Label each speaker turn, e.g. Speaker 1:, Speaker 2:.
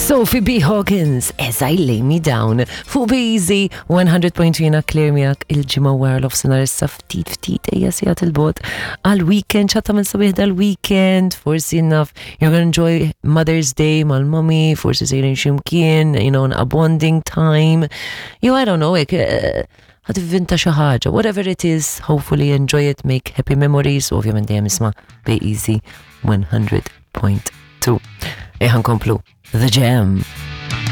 Speaker 1: Sophie B. Hawkins, As I Lay Me Down, fuq Be Easy 100.3 jiena Claire miegħek il-ġimgħa wara l-ofsinhar issa ftit ftit ejja sigħat il-bot għal-weekend xatta minn sabiħ dal-weekend, forsi naf you're gonna enjoy Mother's Day mal-mommy, forsi sejrin ximkien, you know, a bonding time. You, I don't know, ek, eh, ħad vinta xi ħaġa, whatever it is, hopefully enjoy it, make happy memories, u ovvjament dejjem isma' Be Easy 100.2. Eħan komplu, The Jam.